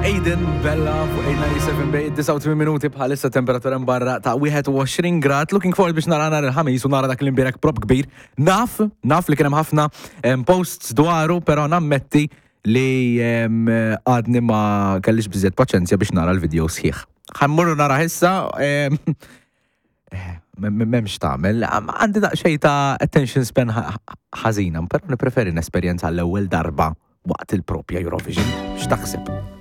Aiden Bella fuq 897 bay 89 minuti bħalissa temperatura barra ta' 21 grad. Looking forward biex nara nhar il-ħamis u nara dak l-imbirek prop kbir. Naf, naf li kien hemm ħafna posts dwaru, però nammetti li għadni ma kellix biżżejjed paċenzja biex nara l-video sħiħ. Ħa mmorru nara issa, eh, m'hemmx tagħmel. Għandi daqsxejn ta' attention span ħażina, però nippreferi nesperjenza l-ewwel darba waqt il-propja Eurovision. X'taħseb?